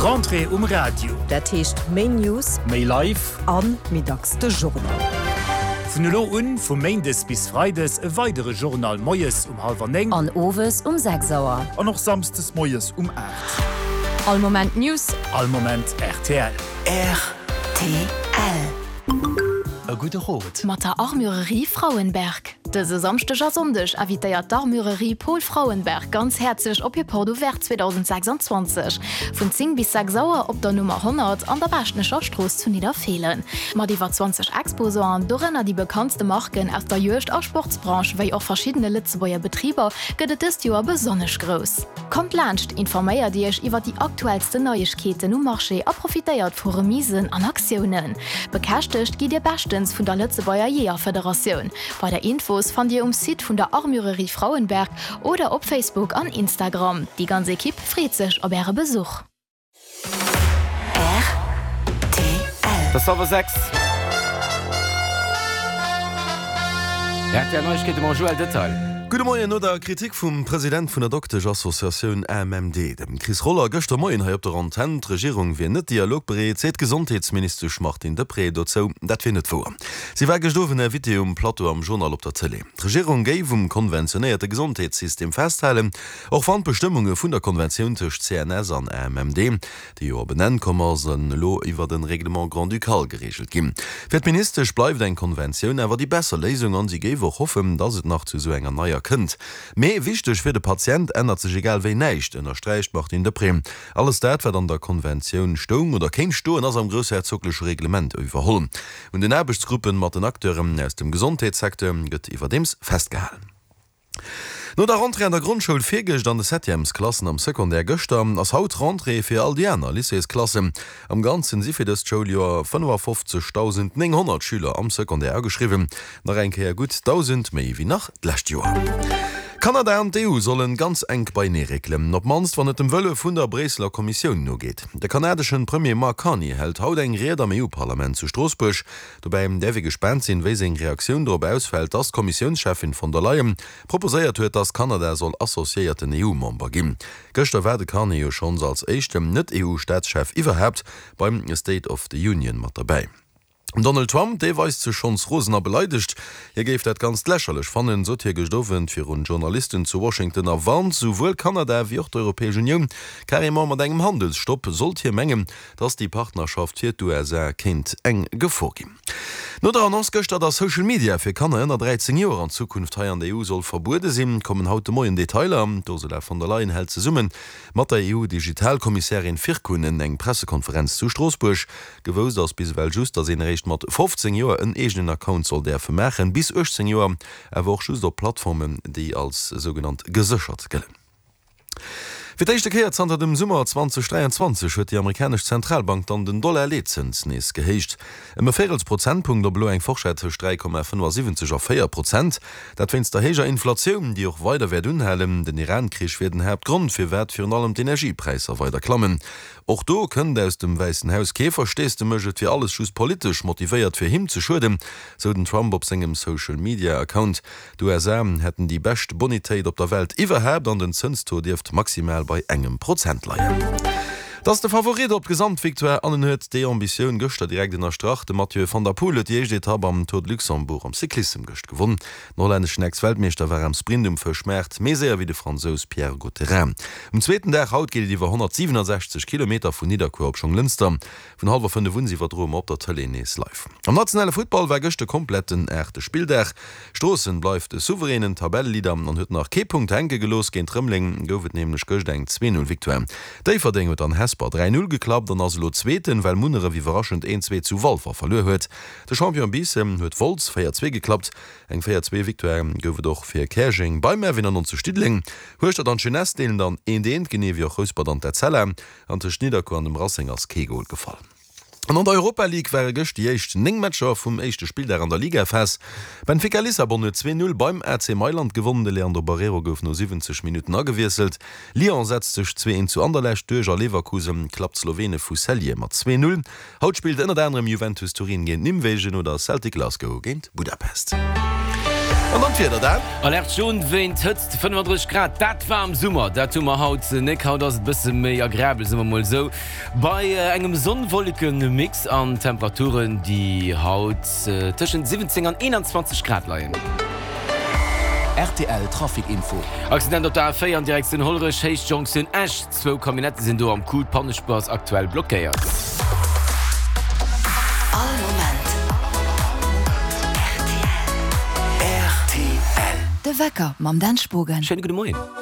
Rentrée um Radio. Dat heescht méi News, méi live a méi dacks de Journal. Vun elo un, vu méindes bis freides, e weidere Journal moies um hallwer 9. An owes um 6 Auer. An och samsdes moies um 8. All Moment News. All Moment rtl. Rtl. E gudde Rot. Mat der Armurerie Frauenberg. Dëse Samschdeg a Sonndeg invitéiert d'Armurerie Paul Frauenberg ganz häerzlech op hir Porte Ouverte 2026 vun 10 bis 6 Auer op der Nummer 100 an der Baaschtnecher Strooss zu Nidderfeelen. Mat iwwer 20 Exposanten, dorënner déi bekanntste Marken aus der Juegd a Sportsbranche wéi och verschiddene Lëtzebuerger Betriber, gëtt et dëst Joer besonnesch grouss. Kommt laanscht, informéiert Iech iwwer déi aktuellsten Neiegkeeten um Marché a profitéiert vu Remisen an Aktiounen. Bekäschtegt gitt Dir beschtens vun der Lëtzebuerger Jeeërfederatioun. Weider Infos fannt Dir um Site vun der Armurerie Frauenberg oder op Facebook an Instagram. Déi ganz Ekipp freet sech op Äre Besuch! Et ass hallwer 6. Rtl Neiegkeete mam Joël Detail. Gudde Moien. No der Kritik vum President vun der Doktesch-Associatioun AMMD, dem Chris Roller, gëschter Moien hei op der Antenn, d'Regierung wier net dialogbereet, seet d'Gesondheetsministesch Martine Deprez dozou, dat wier net wouer. Si war gëscht Owend Invitée um Plateau am Journal op der Tëlee. D'Regierung géif um konventionéierte Gesondheetssystem festhalen, Och wann d'Bestëmmunge vun der Konventioun tëscht CNS an AMMD, déi jo op en Enn komm ass, elo iwwert en Règlement grand-ducal gereegelt ginn. Fir d'Ministesch bleift eng Konventioun awer déi besser Léisung an si géif och hoffen, datt et nach zu esou enger neier kënnt. Mee wichteg fir de Patient ännert sech egal wéi näischt, ënnersträicht d'Martine Deprez. Alles dat, wat an der Konventioun stoung oder kéint stoen, ass am groussherzogleche Reglement iwwerholl. Un den Aarbechtsgruppen mat den Acteuren aus dem Gesondheetssecteur gëtt iwwerdeems festgehalen. No der Rentrée an der Grondschoul virgëscht an de Septièmesklassen am Secondaire gëschter, ass haut d'Rentrée fir all déi aner Lycéesklassen. Am Ganzen si fir dëst Schouljoer 55.900 Schüler am Secondaire ageschriwwen, nach eng Kéier gutt 1.000 méi wéi nach d'lescht Joer. Kanada an d'EU sollen ganz enk beienee réckelen, op d'mannst wann et dem Wëlle vun der Bréisseler Kommissioun nogeet. De kanadeschen Premier Mark Carney hält haut eng Ried am EU-Parlament zu Stroossbuerg. Dobäi däerf ee gespaant sinn, wéi seng Reaktioun dorop ausfält, dass d'Kommissiounscheffin von der Leyen proposéiert huet, dass Kanada soll associéierten EU-Member ginn. Gëschter war de Carney jo schonns als éischten Net-EU-Staatschef iwwerhaapt beim State of the Union mat derbäi. Den Donald Trump, dee weist sech schonns rosen a beleidegt. Hie géif dat Ganzt lächerlech fannen, sot hie gëscht Owend virun Journalisten zu Washington a warnt souwuel Kanada wéi och d'Europäesch Unioun carrément mat engem Handelsstopp, sollt hie mengen, dass déi Partnerschaft fir d'USA kéint eng Gefor ginn. No der Annonce gëschter, dass Social Media fir Kanner ënner 13 Joer an Zukunft hei an der EU soll verbuede sinn, kommen haut de Moien Detailer. D'Ursula von der Leyen hält zesumme mat der EU-Digitalkommissärin Virkkunen eng Pressekonferenz zu Stroossbuerg. Gewousst ass bis ewell just, dass een eréischt mat 15 Joer en eegenen Account soll däerfe maachen, bis 18 Joer awer och just op Plattformen, déi als sougenannt geséchert gëllen. Fir d'éischte Kéier zanter dem Summer 2023 huet déi amerikanesch Zentralbank dann den Dollar-Leetzëns nees gehéicht. Ëm e Véirels Prozentpunkt, op elo eng Forschett tëscht 3,75 a 4 Prozent. Dat wéinst der héijer Inflatioun, déi och weider wäert unhalen. Den Iran-Krich wier den Haaptgrond, firwat virun allem d'Energiepräisser weider klammen. Och do kënnt aus dem Wäissen Haus kee Versteesdemech, et wier alles just politesch motivéiert, fir him ze schueden, sou den Trump op sengem Social-Media-Account. D'USA hätten déi bescht Bonitéit op der Welt iwwerhaapt an den Zënstaux dierft maximal bei engem Prozent leien. Et ass de Favorit op d'Gesamtvictoire an en huet déi Ambitioun gëschter direkt ënnerstrach. De Mathieu van der Poel huet déi éischt Etapp am Tour de Luxembourg am Cyclissem gëscht gewonn. Den hollänneschen Ex-Weltmeeschter war am Sprint um Fëschmaart méi séier wéi de Fransous Pierre Gautherin. Um zweeten Dag haut geet et iwwer 167 Kilometer vun Nidderkuer op Jonglënster. Vun hallwer 5 un iwwerdroe mer op der Tëlee nees live. Am nationale Futtball war gëscht de kompletten aachte Spilldag. Stroossen bleift de souveränen Tabelleleader an huet nach kee Punkt hänke gelooss. Géint Rëmeleng gouf et nämlech gëscht eng 2, 0 Victoire. Déifferdeng huet an Hesper 3, 0 geklappt an ass elo Zweeten, well Munneref iwwerraschend 1, 2 zu Walfer verluer huet. De Champion Biissen huet Wolz 4, 2 geklappt. Eng 4, 2 Victoire gouf et och fir Käerjeng beim RW 99 Diddeleng. Hueschtert an d'Jeunesse deelen dann eent eent, genee wéi och Rouspert an d'Etzella. An tëscht Nidderkuer an dem Racing ass kee Gol gefall. An an der Europa League ware gëscht déi éischt 9 Matcher vum éischte Spilldag an der Ligaphas. Benfica Lissabon huet 2, 0 beim AC Mailand gewonnen, de Leandro Barreiro gouf no 70 Minutten agewiesselt. Lyon setzt sech 2, 1 zu Anderlecht duerch a Leverkusen klappt d'Slowene vu Celje mat 2, 0. Haut spillt ënnert anerem Juventus Turin géint Nimwegen oder Celtic Glasgow géint Budapest. An dann d'Wieder, Dan? Alerte jaune wéint Hëtzt, 35 Grad, dat war am Summer, dat hu mer haut nek. Haut ass et bësse méi agreabel, soe mer mol esou, bei engem Sonn-Wolleken-Mix an Temperaturen, déi haut tëschent 17 an 21 Grad leien. Rtl Trafic Info. Accident op der A4 an Direktioun Hollerech, Héicht Jonktioun Esch. Zwou Camionnettë sinn do am Coup, d'Pannespuer ass aktuell blockéiert. All Moment rtl. De Wecker mam Dan Spogen. Schéine gudde Moien.